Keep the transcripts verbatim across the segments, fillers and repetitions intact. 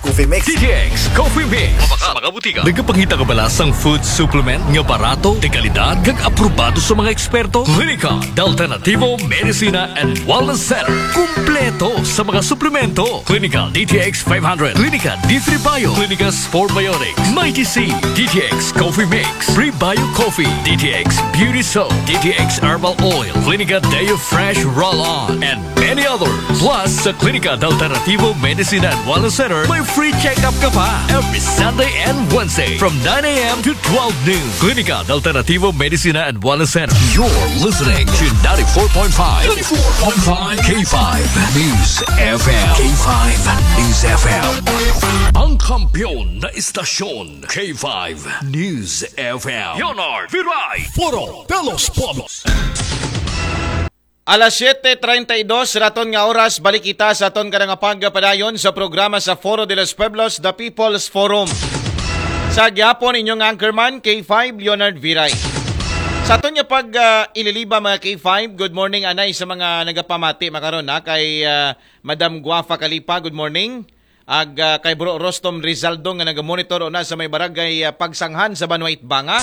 Coffee Mix. D T X Coffee Mix. Mabakal sa mga butika. Nagapangita ka ba lasang food supplement nga barato, de kalidad, kag aprobado sa mga eksperto? Klinika de Alternativo Medicina and Wellness Center. Kumpleto sa mga suplemento. Klinika D T X five hundred, Klinika D three Bio, Klinika Sport Biotics, Mighty C, D T X Coffee Mix, Prebio Coffee, D T X Beauty Soap, D T X Herbal Oil, Klinika Deo Fresh Roll-On, and many others. Plus, sa Klinika de Alternativo Medicina and Wellness Center, may free check-up ka pa every Sunday and Wednesday from nine a.m. to twelve noon. Klinika de Alternativo Medicina and Wellness Center. You're listening to ninety-four point five, ninety-four point five K five News F M. K five News F M. Ang kampiyon na istasyon, K five News F M. Leonard Viray. Foro de los Pueblos. Alas siyete treinta y dos raton nga oras, balik kita sa aton karang pagpadayon sa programa sa Foro de los Pueblos, The People's Forum. Sa gihapon, inyong anchorman, K five Leonard Viray. Sa aton nga pag ah, ililiba, mga K five, good morning anay sa mga nagapamati makaron, ha, kay ah, Madam Guafa Kalipa, good morning. Ag ah, kay Bro Rostom Rizaldo nga nagamonitor una sa may barangay ah, Pagsanghan sa Banwa Itbanga.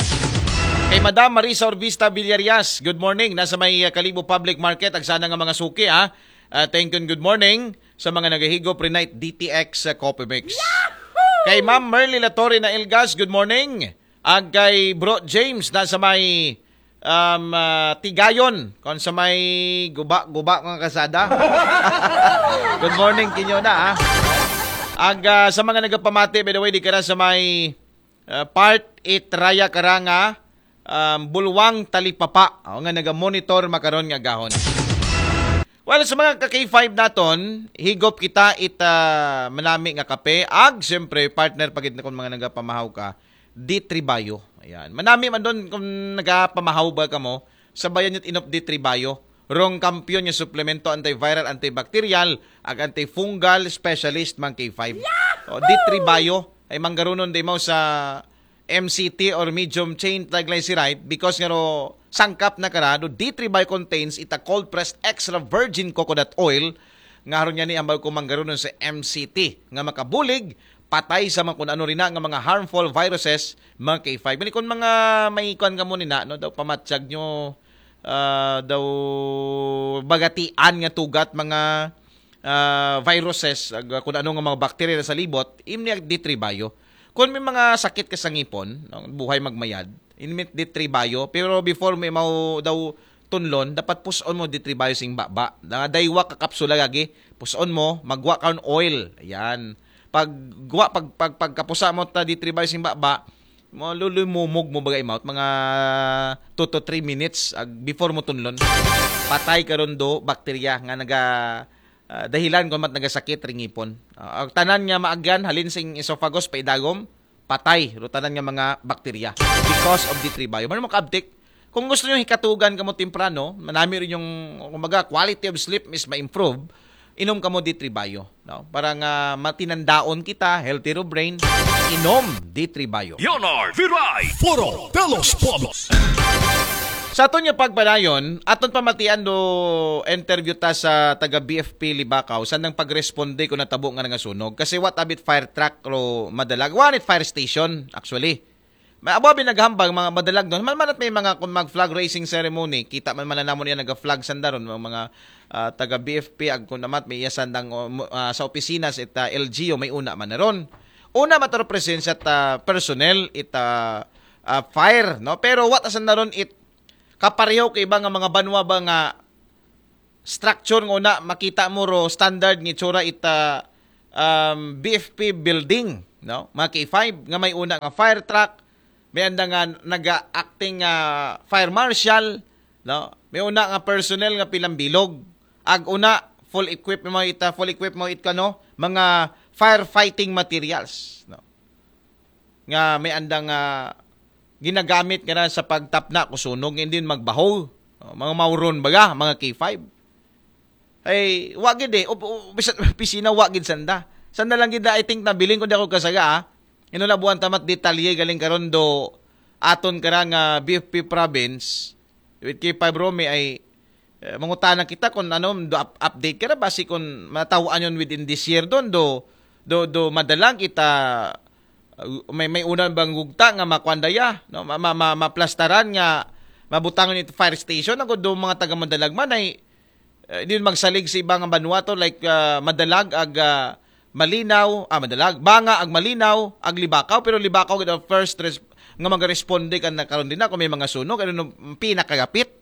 Kay Madam Marisa Orbista Villarias, good morning. Nasa may ah, Kalibo Public Market, agsana nga mga suki, ha. Ah, thank you and good morning sa mga nagahigop rinait D T X sa Coffee Mix. Kay Ma'am Merly Latorre na Ilgas, good morning. Ag kay Bro James na sa may um, ah, Tigayon, kung sa may guba-guba nga kasada. Good morning kinyo na, ha. Ag ah, sa mga nagapamati, by the way, di ka na sa may ah, part eight Raya Karanga, um, Bulwang Talipapa. O, nga naga-monitor makaron nga gahon. Well, sa mga ka K five naton, higop kita it ah, manami nga kape. Ag, siyempre, partner, pagit na kung mga nagapamahaw ka, D three Bio. Ayan. Manami man doon kung nagapamahaw ba ka mo, sabayan nyo't inop D three Bio. Rong kampiyon nga suplemento antiviral, antibacterial, ag antifungal specialist, mga K five. O, D three Bio, ay manggarunon di mo sa M C T or medium chain triglyceride because nga ro sangkap na karado, D three Bio contains ita cold pressed extra virgin coconut oil nga haron niya ni ambal ko manggarunon sa M C T nga makabulig patay sa mga kun ano rin na nga mga harmful viruses, mga K five. Mali kun mga may kuan ka mo ni na, no, daw pamatsag nyo, ah, daw bagatian nga tugat mga ah, viruses, ag, kun ano nga mga bakterya na sa libot, imni ag D three Bio. Kung may mga sakit ka sa ngipon, no, buhay magmayad, imit D three Bio, pero before may mau daw tunlon, dapat puson mo D three Bio sing baba. Na daywa ka kapsula gagi, puson mo, magwa ka oil. Ayan. Pag gwa, pag, pag, pagkapusa mo ta D three Bio sing baba, mo lulumumog mo bagay mouth, mga two to three minutes ag before mo tunlon. Patay karon do bakterya nga naga ah, dahilan kung mat nagasakit ring ngipon. Ah, ang tanan nga maagyan halin sing esophagus paidagom, patay ro tanan nga mga bakterya because of D three Bio. Mano makaabtik, kung gusto nyo hikatugan kamo temprano, manami rin yung, kumbaga, quality of sleep is ma-improve, inom kamo D three Bio, no? Para nga matinandaon kita, healthy ro brain, inom D three Bio. Leonard Viray. Foro de los Pueblos. Sa aton nga pagpadayon, aton pamatian do interview ta sa taga B F P Libacao, saan ang pagresponde kung natabo nga nga sunog. Kasi what abit fire truck ro madalag? One it fire station, actually. May abo abi naghambang mga madalag doon. Man man at may mga kung mag flag raising ceremony, kita man man na namon yan naga-flag sandaron, mga, mga ah, taga B F P, ag kung namat may iya sandang o, mo- ah, sa opisina sa ita L G U, may una man na ron. Una mataro presensya ta personnel ita ah, fire, no? Pero what asan na ron it kapareho kay iba nga mga banwa ba nga structure nga una makita mo ro standard nga itsura ita um, B F P building, no? Mga K five nga may una nga fire truck, may anda nga naga-acting nga fire marshal, no? May una nga personnel nga pilang bilog. Ag una full equip mo ita, full equip mo it kano, mga firefighting materials, no? Nga may andang ah, ginagamit nga na sa pagtapna ko sunog, hindi magbaho. Oh, mga mauron baga, mga K five. Ay, wa gid eh. Op, op, bisan opisina, wa gid sanda. Sanda lang gid, I think, nabiling ko di ako kasaga, ah. Ino na buwan tamat detalye galing karon do aton karang ah, B F P province with K five Romy ay eh, mangutana kita kung ano do up- update ka na basi kung matawaan yun within this year doon do Do, do madalag ita, uh, may, may una bang gugta nga makuan daya, no? Ma, ma, ma, maplastaran nga mabutangon it fire station, ang do mga taga Madalag man ay, eh, di magsalig sa iba nga banwa to, like, ah, Madalag ag, ah, Malinaw, ah, Madalag, Banga ag Malinaw, ag Libakaw, pero Libakaw gid ang first res-, nga magaresponde kan nakaron din na kung may mga sunog, ano no, pinakagapit.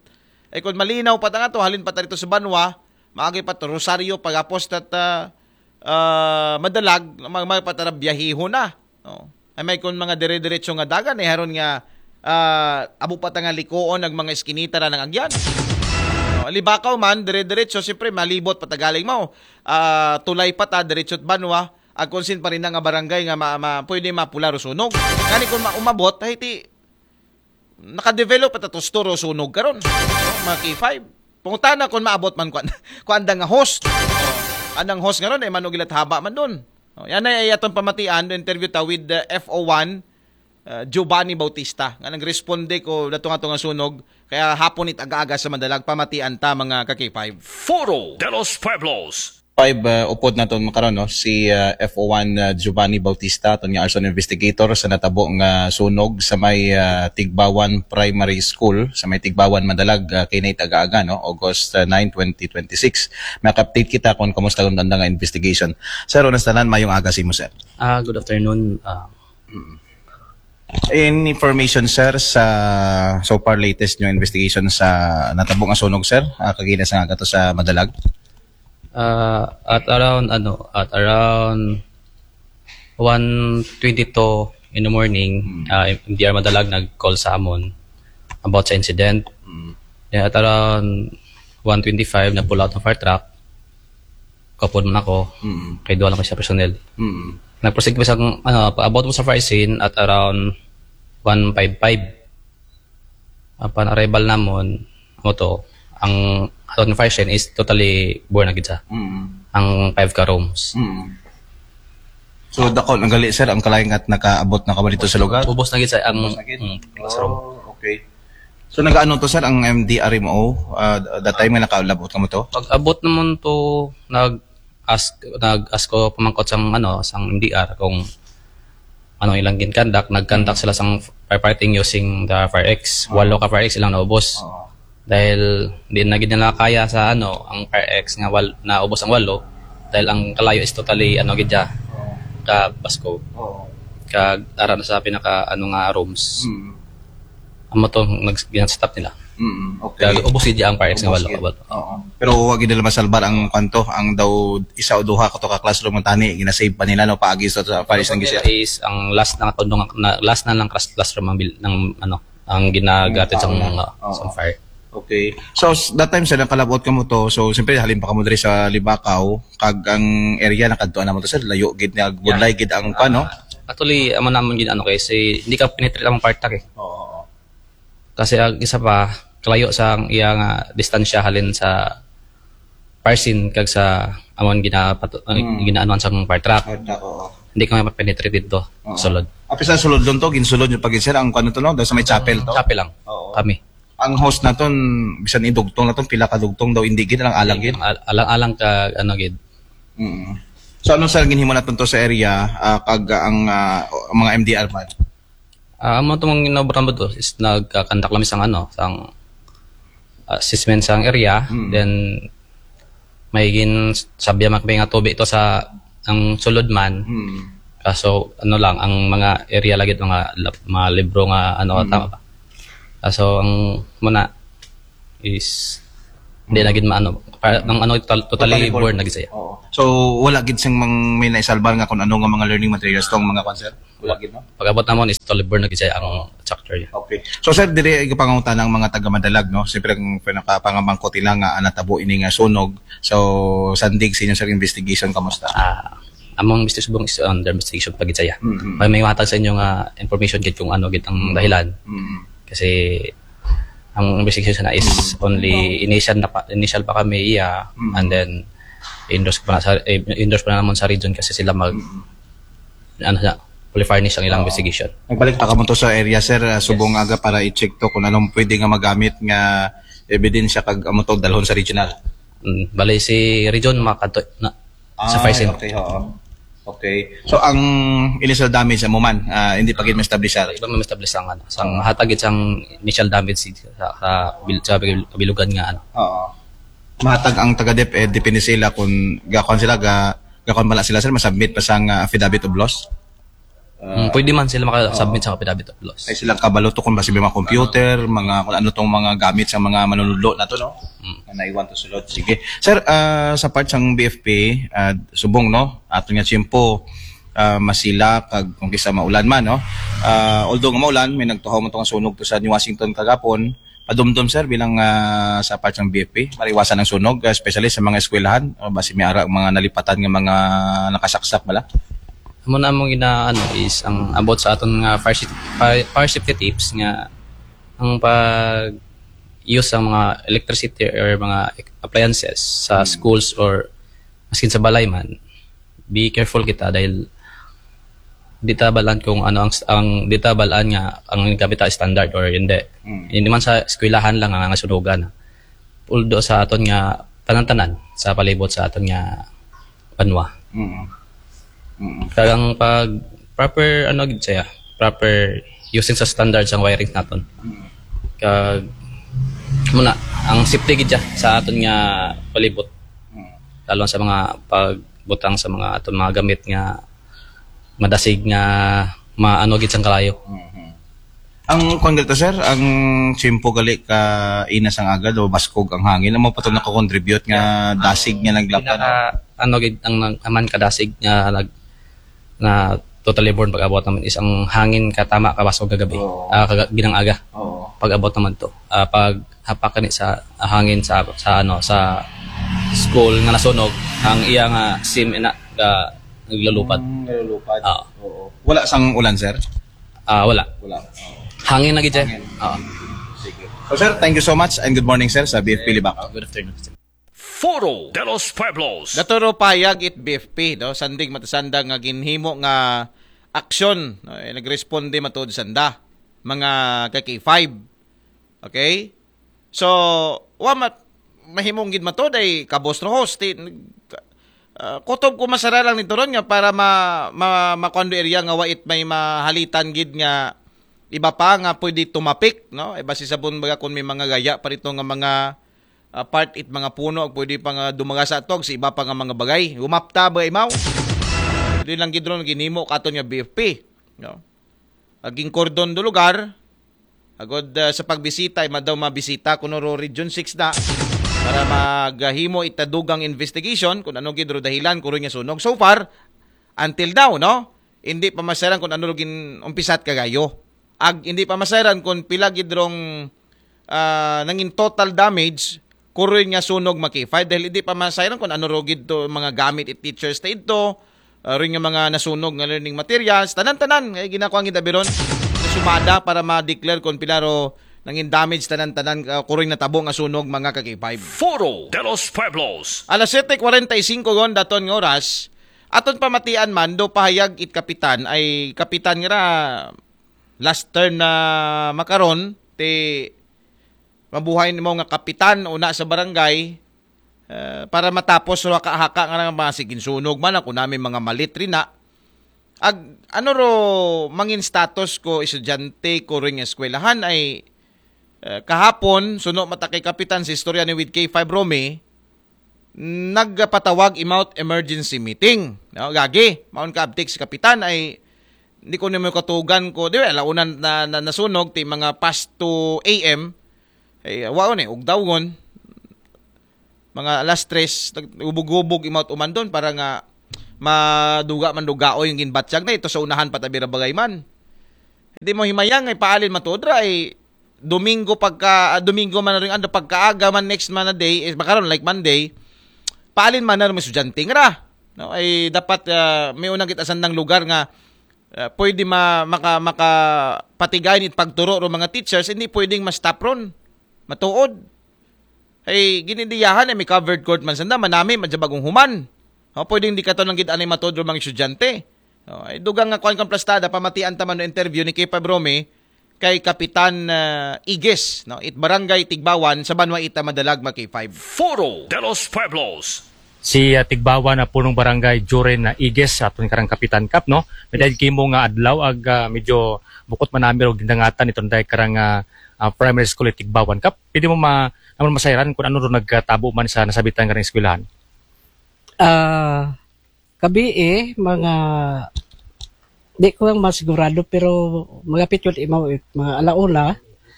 Ay kung Malinaw pa ta nga to, halin pa ta dito sa banwa, maagi pa to, Rosario, pagapos tat, ah, ah, Madalag, mag, mag pa ta biyahiho na. No? Ay may kung mga dire-diretso nga dagan, eh, haron nga, ah, abo pa ta nga likuon ang mga iskinita na ng agyan. No? Libakaw man, dire-diretso, siyempre, malibot pa ta galing mo. Ah, tulay pa ta, diretso banwa, ag kung sin pa rin nga barangay nga ma, ma, pwede mapula ro sunog. Ngani kung ma, umabot, ay ti, nakadevelop pa ta to store o sunog karon. Mga K five. Pangutana kung maabot man kuan, kuan da nga host. Anang host nga ron, eh, manugilat haba man doon. No, yan ay atong pamatian, interview ta with the F O one, uh, Giovanni Bautista, nga nagresponde ko dato nga to nga sunog, kaya hapon it aga-aga sa Madalag, pamatian ta, mga ka-K five. Foro de los Pueblos. Five, uh, upod naton makaron, no, si, uh, F O one, uh, Giovanni Bautista, aton nga arson investigator sa natabo nga sunog sa may, uh, Tigbawan Primary School, sa may Tigbawan, Madalag, uh, kay night aga-aga, no, August, uh, nine, twenty twenty-six. Maka-update kita kung kumusta ang anda nga investigation. Sir, una sa tanan, mayong aga sa imo, sir. Ah, good afternoon. Ah, Any information, sir, sa so far latest nyo investigation sa natabo nga sunog, sir? Ah, kagina sa nga gato sa Madalag? Ah, at around, ano, at around one twenty-two in the morning, ah, M D R Madalag nag-call sa amon about sa incident. Then at around one twenty-five, nag-pull out ng fire truck. Kapon man ako, kay duha lang ko siya personnel. Nag-proceed kami sa, ano, paabot mo sa fire scene at around one fifty-five. Upon arrival namon, mo to, ang aton fire scene is totally burn na gid sa. Ang five ka rooms. So, dako na gali, sir, ang kalaingat nakaabot na kamo dito sa lugar? Ubos na gid sa ang mm, classroom. Oh, okay. So, nagaano to, sir, ang M D R M O? Ah, that time nga nakalabot kamo to? Pag abot naman to, nag-ask, nag-ask ko pamangkot sang, ano, sang M D R kung ano ilang ginkandak. Nagkandak sila sang firefighting using the Fire X. Walo ka Fire X ilang naubos. Dahil di na gid nila kaya sa, ano, ang Fire X nga wal, naubos ang walo. Dahil ang kalayo is totally, ano, gid siya, ka basko. Oo. Kag ara na sa pinaka, ano nga, rooms. Mm. Amo to, nag-, ginastop nila. Mm, okay. Kag ubos gid ang Fire X nga walo. Oo. Pero wa gid nila masalbar ang kanto, ang daw isa o duha kato ka classroom nga tani, ginasave pa nila, no, paagi sa, sa Fire X nga gisi. Is ang last na katundong na, last na lang class, classroom ang bil, ng, ano, ang ginagatid sa Tao na. mga Oo. sa fire. Okay. So, s- that time, sir, nakalabot kamo to. So, siyempre, halin pa kamo diri sa Libakaw, kag ang area nakadto na mo to, sir, layo gid na, budlay gid ang, ano? Actually, amo naman gid, ano, kasi hindi ka penetrate ang part eh. Oo. Kasi ang isa pa, kalayo sa ang iya nga distansya halin sa fire scene kag sa amon ginapato, ang ginaanuhan sa fire truck. Hard na, oo. Hindi ka mapenetrate dito. Sulod. Apis na sulod doon to, ginsulod yung pag sir, ang ano to, no? Doon sa may chapel to. Chapel lang. Oo. Kami. Ang host naton, bisan idugtong naton, pila ka dugtong daw, hindi gid, alang-alang gid. Al- alang-alang ka, ano gid. Mm. So, ano, sir, ginhimo naton to sa area, ah, kag ang, ah, mga M D R man? Ah, amo to mga ginobra mo to is nagkakandak lang sang, ano, sang assessment sang area, then may gin sabya man kami nga tubi to sa ang sulod man. Mm. Kaso, ano lang, ang mga area lagi, mga, lab- mga libro nga, ano, tama ba? Kaso, ang muna is, hindi na gid maano, pa- ang ano, total- totally burn na gid siya. Oo. So, wala gid sing mang, may naisalbar nga kung ano nga mga learning materials tong mga kwan, sir? Wala gid, no? Pag-abot namon is totally burn na gid siya ang structure niya. Okay. So, sir, diri ay kapangutana ang mga taga Madalag, no? Siyempre, ang pinakapangabangkot nila nga, ah, natabo ini nga sunog. So, sandig sa inyo, sir, investigation, kamusta? Ah, among Mister Subong is under investigation pa gid siya. Mhm. May, may matag sa inyo nga information gid kung ano gid ang dahilan. Mm. Kasi ang investigation na is only initial na pa, initial pa kami iya, and then endorse pa na sa eh, endorse pa na naman sa region kasi sila mag ano na, fully furnish ang ilang investigation. Nagbalik pa kamo to sa area, sir, ah, subong aga para i-check to kung anong pwede nga magamit nga ebidensya kag amo to dalhon sa regional. Mm, bali si region makato na sa Ah, fire scene. Okay, oo. Okay. So, ang initial damage mo man, ah, hindi pa gid ma-establish, sir? Iba may establish ang ano, sang hatag gid sang initial damage sa sa, bil, sa bil, kabilugan nga ano. Oo. Mahatag ang taga DepEd, depende sila kung gakuan sila, ga, gakuan ba na sila, sir, masubmit pa sang ah, affidavit of loss? Mm, pwede man sila maka-submit sa affidavit of loss. Ay silang kabalo to kung basi may mga computer, mga kung ano tong mga gamit sa mga manunudlo na to, no? Na naiwan to sulod. Sige. Sir, ah, sa part sang BFP, ah, subong, no? Ato nga tiyempo, ah, masila kag kung kisa maulan man, no? Ah, although nga maulan, may nagtuhaw man to nga sunog to sa New Washington kagapon. Padumdum, sir, bilang ah, sa part sang BFP, maiwasan ang sunog, ah, especially sa mga eskwelahan, o basi may ara ang mga nalipatan nga mga nakasaksak bala? Amo na among gina ano is ang about sa aton nga fire safety, fire, fire safety tips nga ang pag use sa mga electricity or mga appliances sa schools or maskin sa balay man, be careful kita dahil di ta balaan kung ano ang ang di ta balaan nga ang gamit ta standard or hindi. Hindi man sa eskwelahan lang ang nasunugan. Although sa aton nga tanan-tanan sa palibot sa aton nga banwa. Mm. Mm. Kagang pag proper ano gid siya, proper using sa standards ang wiring naton. Kag muna ang safety gid siya sa aton nga palibot. Mm. Lalo sa mga pagbutang sa mga aton mga gamit nga madasig nga maano gid sang kalayo. Mhm. Ang kwan gali to, sir, ang tiyempo gali ka inas ang aga, do baskog ang hangin, amo pa to nakakontribute nga dasig nga naglapa, no? Pinaka ano gid ang nag- aman kadasig nga nag na totally born pag-abot naman is ang hangin katama kabasog kagabi. Oo. Ah, kaga, ginang aga. Oo. Pag-abot naman to. Ah, pag hapak ni sa hangin sa sa ano sa school nga nasunog ang iya nga sim ina ga naglalupad. Mm, nalulupad. Ah. Oo. Wala sang ulan, sir? Ah, wala. Wala. Oo. Hangin na gid siya. Hangin. Ah. Sige. So, sir, thank you so much and good morning, sir, sa BFP Libak. Good afternoon. Foro de los Pueblos. Daturo payag it BFP, no? Sanding matasanda nga ginhimo nga aksyon, no? Eh, nagresponde matuod sanda mga ka K five. Okay? So, wa mat mahimong gid matuod ay kabos rohos ti ah, kutob ko masara lang ni Turon nga para ma, ma makuan do area nga wa it may mahalitan gid nga iba pa nga pwede tumapik, no? E basi sabon baga kung may mga gaya pa rito nga mga ah, part it mga puno ag pwede pa nga dumaga sa atog sa iba pa nga mga bagay. Humapta ba imaw? Di lang gid ron ginhimo katon nga BFP, no? Aging kordon do lugar. Agod ah, sa pagbisita ay madaw mabisita kuno ro Region six na para maghimo ita dugang investigation kung ano gid ro dahilan kuro nga sunog. So far, until now, no? Hindi pa masayran kung ano ro gin umpisat kagayo. Ag hindi pa masayran kung pila gid rong ah, nangin total damage kuroy nga sunog makify dahil hindi pa masayran kung ano ro gid to mga gamit it teachers ta idto, ah, rin nga mga nasunog nga learning materials, tanan-tanan nga ginakuha gid abiron sumada para ma-declare kung pila ro nangin damage tanan-tanan ah, kuroy natabo nga sunog mga ka K five. Foro de los Pueblos. Alas siyete kwarenta y singko gon daton nga oras, aton pamatian man do pahayag it kapitan ay kapitan nga ra last term na makaron ti mabuhay nimo nga kapitan una sa barangay eh, para matapos ro haka-haka nga nga mga sigin sunog man ako namin mga malit rin na ag ano ro mangin status ko estudyante ko rin nga eskwelahan ay eh, kahapon suno mata kay kapitan sa istorya ni with K five Romy nagpatawag imaw it emergency meeting. No? Gagi, maon ka abtik si kapitan ay hindi ko nimo katugan ko, di ba, launan na, na nasunog ti mga past two A M. Ay, waon eh, ugdawgon. Mga alas tres, nag- ubog-ubog imaw it umandon para nga maduga man dugaoy yung ginbatyag na ito sa unahan patabi ra bagay man. Hindi mo himayang ay paalin matudra ay Domingo pagka ah, Domingo man na rin ano pagkaaga man next man na day is makaron like Monday. Paalin man na rin estudyante nga ra. No, ay dapat ah, may unang kita sandang lugar nga ah, pwede ma, maka, makapatigay ni pagturo ro mga teachers, hindi pwedeng ma-stop ron. Matuod. Ay ginidiyahan ay may covered court man sanda, manami man sa bagong human. O, pwedeng di ka to nang gid anay matuod ro mga estudyante. O, ay dugang nga kuan kang plastada, pamatian ta man no interview ni K five Romy kay Kapitan ah, Igis, no? It Barangay Tigbawan sa Banwa Ita Madalag, mga K five. Foro de los Pueblos. Si ah, Tigbawan na punong barangay Joren na Iges sa aton karang kapitan, Kap, no? May dahil kimo nga adlaw ag ah, medyo bukot man nami ro gindangatan iton dahil karang ah, ah, primary school ni Tigbawan, Kap. Pwede mo ma naman masayran kung ano ro nagtabo man sa nasabitan karang eskwelahan? Ah, kabi eh, mga di ko lang masigurado pero magapit yun imaw eh, mga alauna,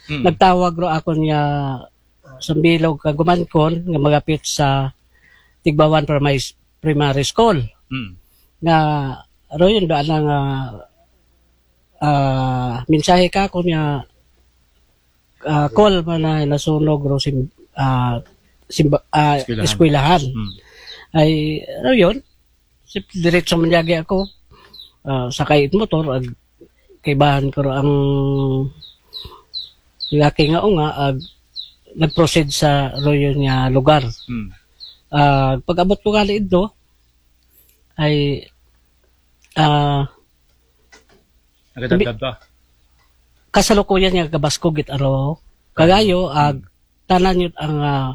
Hmm. nagtawag ro ako niya sa bilog kagumangkon nga magapit sa Tigbawan Primary, Primary School. Hmm. Nga, ro yun, doon nga ah, mensahe ka ako niya ah, call man na nasunog ro sim, ah, simba, ah, Eskwelahan. eskwelahan. Hmm. Ay, ano yun? Si, diretso man yagi ako. Ah, sakay it motor, ag kaibahan ko ro ang laki nga o nga, ag nag-proceed sa ro yun nga lugar. Hmm. Ah, pag-abot ko gali ito, ay ah, Nagadagdag ka? Kasalukuyan nga gabaskog it aro kagayo ag tanan yun ang ah,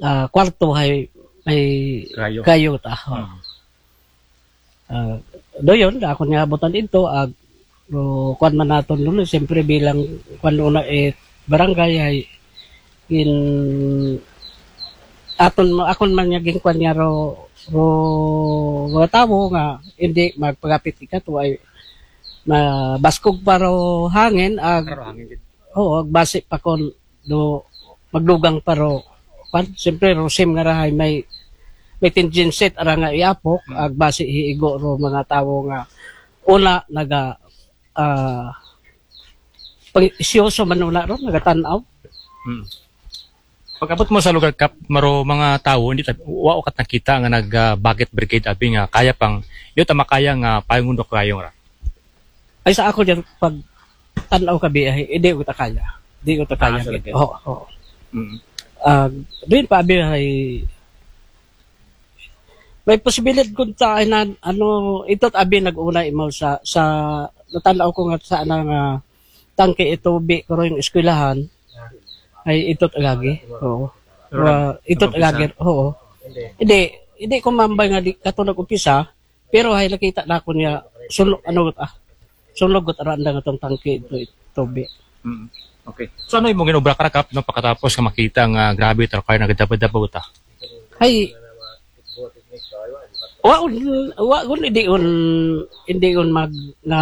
ah, kwarto hay may Kayo. kayo ta. Hmm. Ah, doyon da ako niya abutan ito ag o, kuan man naton nuno siyempre bilang kuan una eh barangay ay in aton akon man niya ginkuan niya ro ro mga tawo nga hindi magpagapit ikato ay mabaskog pa ro hangin ag Pero hangin gid. Oo, ag basi pa kon do magdugang pa ro. Pan, siyempre, ro sim nga rahay may may tendency ara nga iapok, ag basi hiigo ro mga tawo nga una naga ah pag isyoso man una ro nagatan-aw. Hmm. Pag-abot mo sa lugar, Kap, maro mga tawo, hindi ta- wa ko kat nakita nga nag ah, bakit brigade abi nga kaya pang yun ta makaya nga payong undok kayong ra. Ay sa ako diyan pag tan-aw kabi ay hindi ko ta kaya. Hindi ko ta kaya. Ah, sa lagi. Oo, oo. Mm. Ah, doon pa abi ay may posibilidad kun ta ay na, ano ito't abi nag-una imaw sa sa natan-aw ko nga sa nga tangke ito bi ko yung eskwelahan ay ito't agagi. Oo. Pero Wa- ito't nag-umpisa. Agagi. Oo. Hindi, hindi ko mambay nga di kato nag-umpisa, pero hay nakita na ako niya sunog ano ah. Sunog got aranda nga tong tangke ito ito bi. Mm. Okay. So ano imong ginobra ka, Kap, no, pagkatapos nga makita nga grabe ta kaya nagdabad-dabad ta? Hay wa un wa un hindi un hindi un mag nga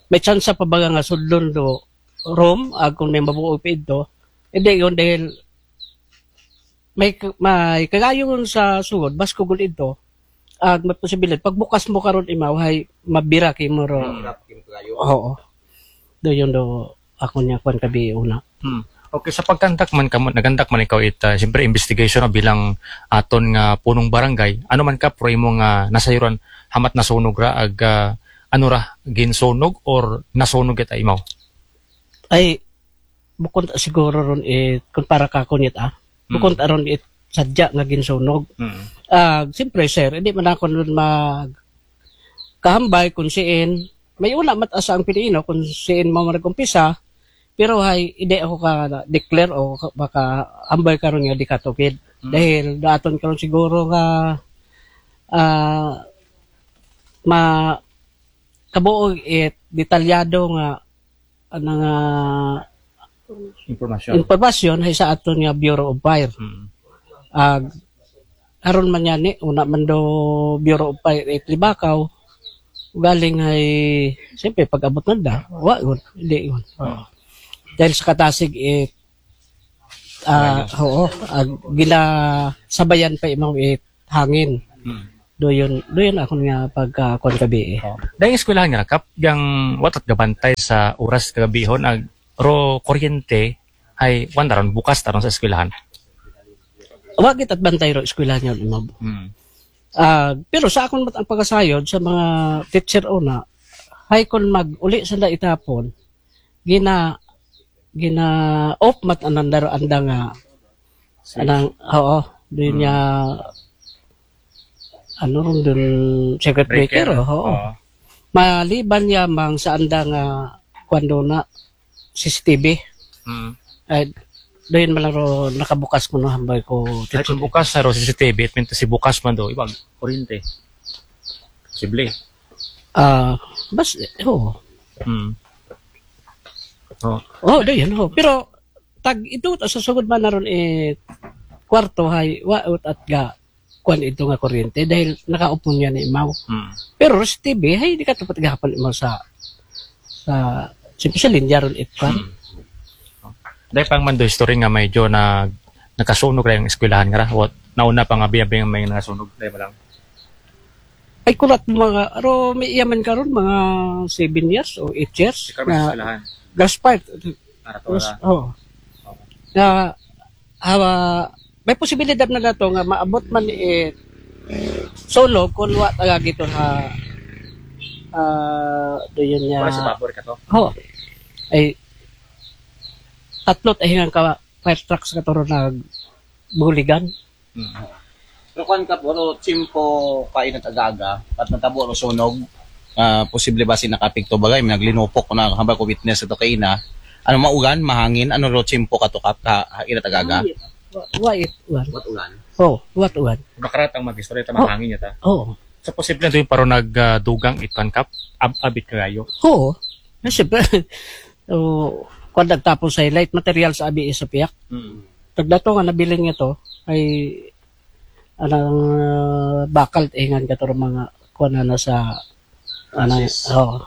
may tsansa pa baga nga sudlon do room ag kung may mabuo pa ito hindi yun dahil may may kagayon sa sugod baskugol ito ag may posibilidad pagbukas mo karon imaw hay mabira kay mo ro oo do yun do ako niya kwan kabi una Hmm. Okay, sa pagkandak man kamo, nagandak man ikaw it ah, siyempre investigation no, bilang aton nga punong barangay. Ano man, Kap, ro imo nga nasayuran hamat nasunog ra ag ah, ano ra ginsunog or nasunog it imaw? Ay bukon ta siguro ron it kun para ka kunit ah bukon ta ron it sadya nga ginsunog Mm. Ah, siyempre sir hindi man ako nun mag kahambay kung siin may una mat asa ang Pilipino kung siin mo nag-umpisa pero hay hindi ako ka declare o ka- baka ambay karon nga di katugid dahil daton karon siguro nga ah ma kabuo it detalyado nga ano nga Impormasyon. Impormasyon hay sa aton nga Bureau of Fire Mm. ag aron man yan eh, una man do Bureau of Fire it Libakaw galing ay siyempre pag-abot nanda wa yun hindi yun dahil sa katasig it ah oo ag ginasabayan pa imong it hangin Mm. do yun do yun ako nga pagkakuan kabi eh Oh. Dahil eskwelahan nga, Kap, yang watat gabantay sa oras kagabihon ag ro kuryente ay wan taron bukas taron sa eskwelahan. Wa kita bantay ro eskwelahan yun imam Mm. Ah, pero sa akon mat ang pagkasayod sa mga teacher una, hay kon mag-uli sila itapon, gina gina off mat anang daro anda nga anang oo, din niya ano ron dun circuit breaker, oo. Oo. Maliban niya mang sa anda nga kwando na C C T V. Mm. Ay, Dayon man lang ro nakabukas ko no, hambal ko. Ay, kung bukas na ro, C C T V, it mean to si bukas man do, iba, kuryente. Posible. Ah, bas, oo. Hmm. Oh. Oh, dayon, oh. Pero, tag ito, sa sugod man na ron, eh, kwarto, hay, wa, ut at ga, kuan ito nga kuryente, dahil nakaupon niya ni imaw. Hmm. Pero, sa T V, hay, di ka tapat gahapon imaw sa, sa, siyempre sa linya ron, it kuan. Hmm. Dahil pang mando history nga medyo na, nakasunog ra yung eskwelahan nga ra. What? Nauna pa nga biyabing may nakasunog. Dahil ba lang? Ay, kurat mga, aro, may iyaman karon mga seven years o eight years. Ikaw may na eskwelahan. Gaspard. Para to Mas, ra. Oh. Okay. Na, hawa, may posibilidad na nato nga maabot man, eh, sunog kung wa taga gito ha, ah, do yun niya. Wala sa babor ka to? Ho. Ay, tatlo tahingan ka fire trucks ka to ro nagbuligan. Hmm. Pero kuan ka, puro tsimpo kainat agaga, at natabo ro sunog, ah, posible ba si nakapikto bagay, may naglinupok ko na hambal ko witness ito kaina. Ano, maugan, mahangin, ano ro tsimpo ka to kap, ka, inat agaga? Wa-, wait, wan. What ulan? Oh, what wan. Makarat ang mag-istorya, ta Oh. Mahangin niya ta. Oo. So, posible na doon paro nag, ah, dugang itan kap, ab-, abit kagayo. Oo. Kasi, oh, kung nagtapon sa light material sa abi sa piyak. Hmm. Tagdato nga nabilin nga to, ay, anang, ah, bakal, ingan ka to mga, kuwan na sa, anang, Francis. Oh.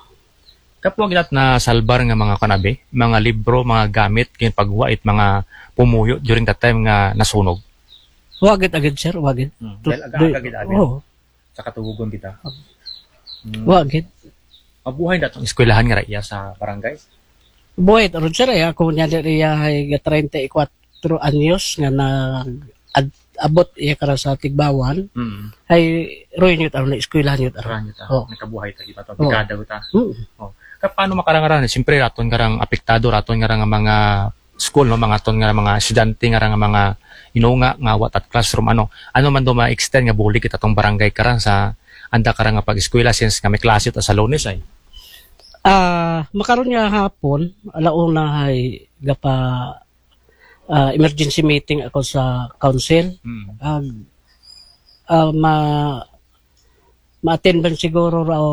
Kapwa ginat na salbar nga mga kanabi, mga libro, mga gamit, kaya pagwa it mga pumuyo during that time nga nasunog. Wagit agad, sir, wagit. Hmm. Tut-, Dahil aga-, aga gid, aga. Oo. Sa katugugon kita. Hmm. Wagit. Mabuhay na itong eskwelahan nga raiya sa barangay? Buhay, ron, sir, eh. Ako niya di riya ay ga treinta y cuatro anyos nga nag-, ad-, abot iya kara sa Tigbawan. Hmm. Ay, roy niyo taro na eskwelahan niyo taro. Eskwelahan niyo taro. Oh. Nagkabuhay ta, iba to, Oh. Dekada ta. Hmm. Oh. Ka, paano makarangaran? Siyempre, raton nga rang apektado, raton nga rang mga school, no? Mga ton nga mga estudyante nga rang mga inunga nga wa tat classroom, ano? Ano man do ma-extend nga bulig kita tong barangay karan sa anda karan nga pag-eskwela since nga may klase ta sa Lunes ay? Ah, makaron nga hapon, alauna hay gapa, ah, emergency meeting ako sa council. Hmm. Ag, ah, ma-, ma-attend man siguro raw,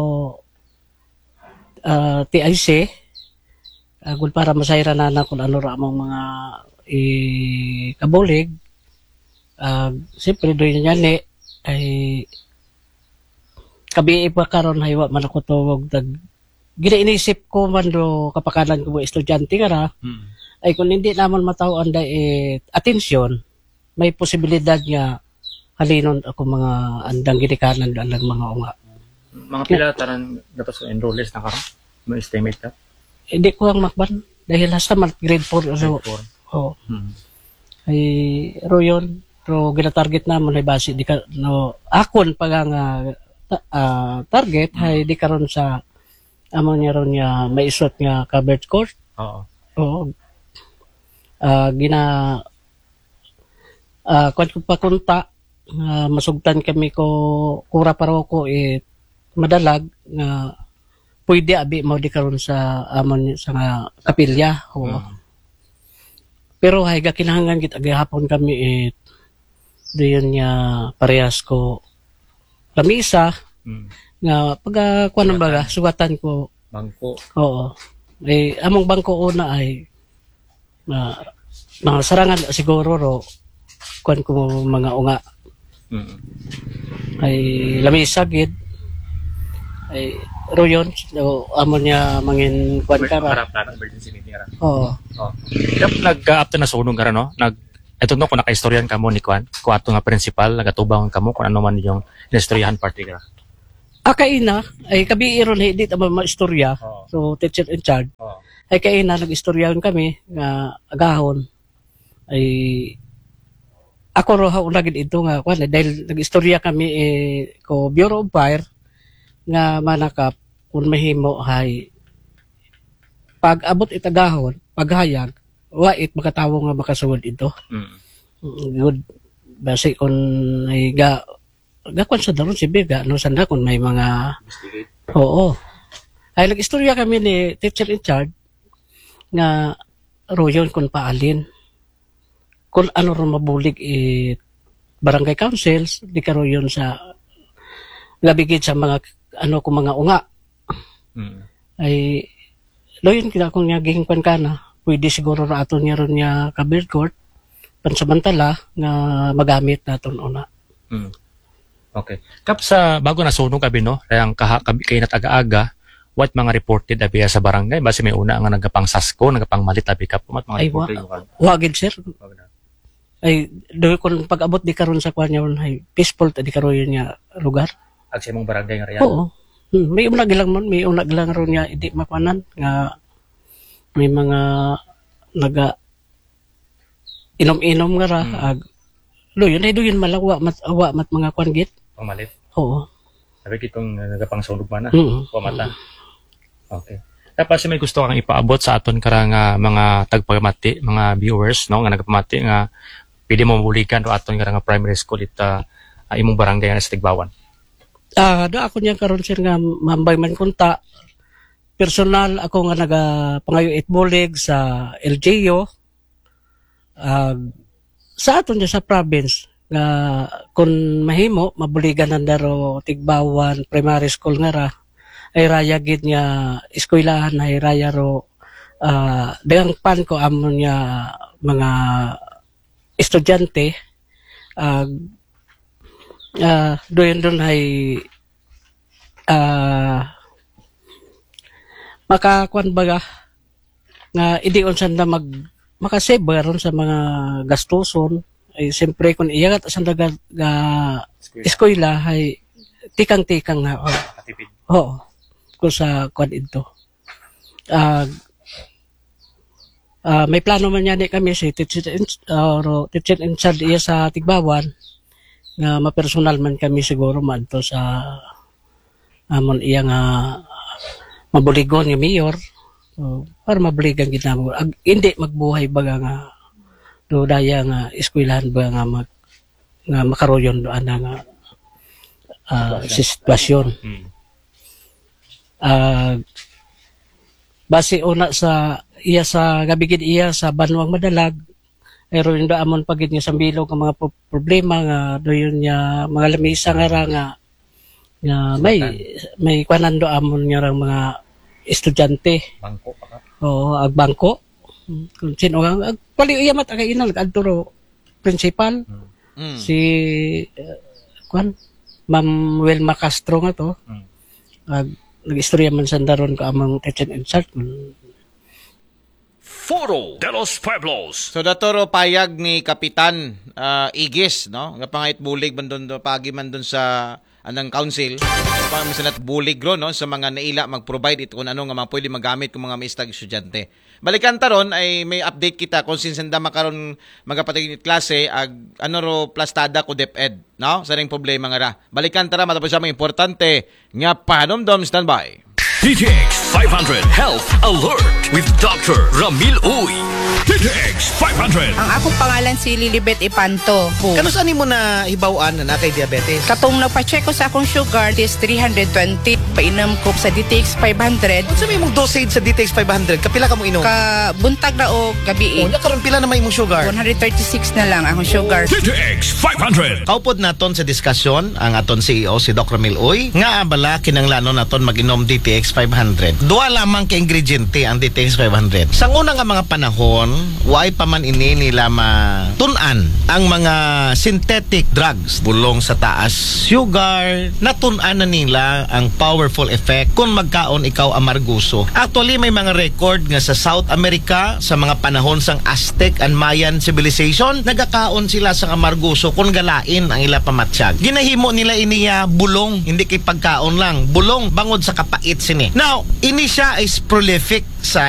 ah, T I C, agud para masayran na kung ano ra among mga ikabulig. Ah, siyempre, doon niya ni, ay, kabi pa karon, hay wa man ako tuwag tag, ginainisip ko man do kapakanan ko mga estudyante nga ra, Hmm. ay kung hindi naman mataw ang dai-, eh, atensyon, may posibilidad nga halinon ako mga andang ginikanan, andang mga unga. Mga pila tanan gatos enrollees na karon? May estimate ka? Hindi ko ang makban. Dahil hasta man grade four, so, Grade four. Oh. Hmm. Ay, ro yun. Pero ginatarget naman ay base di ka, no, akon pa nga, ah, ta-, ah, target, Hmm. ay di karon sa, amo niya ron niya, may isot nga covered court. Oo. Oo. Ah, gina-, ah, kuwan ko pakunta, ah, masugtan kami ko, kura paroko, eh, madalag, nga pwede abi mao di karon sa amon sa nga kapilya. Oo. Mm. Pero hay ga kinahanglan gid gihapon kami, eh, dayon nga parehas ko lamisa Mm. nga pag, ah, kuwan Sugatan. Baga, sugatan ko. Bangko. Oo. Eh, among bangko una ay, ah, mga sarangan siguro ro, kuwan ko mga unga. Mm. Ay lamisa gid. Ay, ro yun, so, amo niya mangin kuwan Emer-, ka ra. Harap na, emergency meeting ra. Oo. Oh. Kap nag, ah, after na sunog nga ra, no? Nag, ito no, kung nakaistoryan kamo ni kuwan, kung ato nga principal, nagatubang kamo, kung ano man yung inistoryahan party ka. Ah, kaina, ay kabi iron, hindi tama maistorya. Oo. So, teacher in charge. Oo. Ay kaina, nag-istoryahan kami, nga agahon. Ay, ako ro ha una gid ito nga, kuwan, eh, dahil nag-istorya kami, eh, ko Bureau of Fire, nga manakap, kung mahimo, hay, pag abot it agahon, paghayag, wa it makatawo nga makasugod ito. Mm. Mm, good. Basi kung ay ga-, gakuan sa daron si Biga, no, sanda kung may mga Investigate. Oo. Ay, nag-istorya kami ni teacher in charge nga royon kung paalin. kung ano ron mabulig i barangay councils, di karon yun sa gabi gid sa mga ano ko mga unga. Mm. Ay, do yun kina kung niya gihingpan ka na, pwede siguro ra aton niya ron niya ka-build court, pansamantala nga magamit naton una. Mm. Okay. Kap, sa bago nasunog abi, no, kaya ang kaha kabi kay nataga-aga, what mga reported abi sa barangay? Basi may una nga nagapangsasko, nagapangmalit abi, Kap, what mga Ay, wa, reported mo? wa gid, sir. Ay, do kung pag-abot di karon sa kwan yun, ay peaceful ta di karon yun nga lugar. Ag sa imong barangay nga area? Oo. Hmm, may una gilang man, may una gilang ron nga hindi makwanan nga may mga naga inom-inom nga ra. Hmm. Ag, do yun, ay do yun malawa mat, awa mat mga kwan gid. Pangmalit. Oo. Sabi kitong uh, nagapangsunog man na. Mm. Wa mata. Okay. Tapos may gusto kang ipaabot sa aton karang ah, mga tagpamati, mga viewers, no, nga nagapamati nga pwede mo mabuligan do aton karang primary school ita ah, imong barangay nga sa Tigbawan. Ah, do ako niya karon, sir, nga mambay man kunta personal ako nga nagapangayo it bulig sa L G U, ah, sa aton niya sa province nga kung mahimo mabuligan nanda ro Tigbawan primary school nga ra, ay raya gid nga eskwelahan, ay raya ro ah, daghang pan ko amon nga mga estudyante, ah, ah, doon doon ay ah, makakuan baga nga hindi unsan na mag makasave ba ron sa mga gastuson. Ay siyempre kung iyagat sa ga, ga eskwela ay tikang-tikang na, oh. Katipid. Oo. Kung sa kwan ito. Ah, ah, may plano man yan kami si teacher in, or teacher in charge iya sa Tigbawan nga mapersonal man kami siguro man to sa amon iya nga mabuligon nga mayor. So, para mabuligan gid namo. Ag, hindi magbuhay baga nga do daya nga eskwelahan ba nga mag, nga makaroyon do ana nga ah, si sitwasyon. Mm. Ah, base una sa iya sa gabi gid iya sa banwang Madalag, pero indo amon pa gid nga sambilog ang mga pro- problema nga doon niya mga lamisa nga ra nga, nga may may kwanan do amon nga rang mga estudyante. Bangko pa ka. Oo, ag bangko. Kung sino ang ag pali iya mat aga inal adto ro principal Mm. Mm. si uh, kwan Ma'am Wilma Castro nga to. Mm. Ag nag-istorya man sa daron ko among teacher in charge. Foro de los Pueblos. So datoro payag ni Kapitan ah, Igis, no? Nga pangayot bulig man doon, pagi man doon sa anang council. Pa man sa bulig ro, no? Sa mga naila mag-provide ito kung ano nga mga pwede magamit kung mga maestag estudyante. Balikan taron ay may update kita kung sinsanda makaron magapatagin klase ag ano ro plastada ko DepEd, no? Sa ring problema nga ra. Balikan tara matapos sa mga importante nga pahanumdom, standby. D T X five hundred Health Alert with Doctor Ramil Uy. D T X five hundred. Ang akong pangalan si Lilibet Ipanto. Kanus-a nimo nahibaw-an na naa kay diabetes? Katong nagpa-check ko sa akong sugar is three hundred twenty. Painom ko sa D T X five hundred. Unsa may imong dosage sa D T X five hundred? Kapila ka mo inom? Ka buntag na o gabi. O, nya karon pila na may imong sugar? One hundred thirty-six na lang akong sugar. D T X five hundred. Kaupod naton sa diskusyon ang aton C E O si Doc Ramil Uy nga abala kinanglanon naton mag-inom D T X five hundred. Duha lamang ka ingrediente ang D T X five hundred. Sa una nga mga panahon, waay pa man ini nila matun-an ang mga synthetic drugs. Bulong sa taas sugar, natun-an na nila ang powerful effect kung magkaon ikaw amargoso. Actually, may mga record nga sa South America, sa mga panahon sang Aztec and Mayan civilization, nagakaon sila sa amargoso kung galain ang ila pamatyag. Ginahimo nila iniya bulong, hindi kay pagkaon lang. Bulong bangod sa kapait sini. Now, ini siya is prolific sa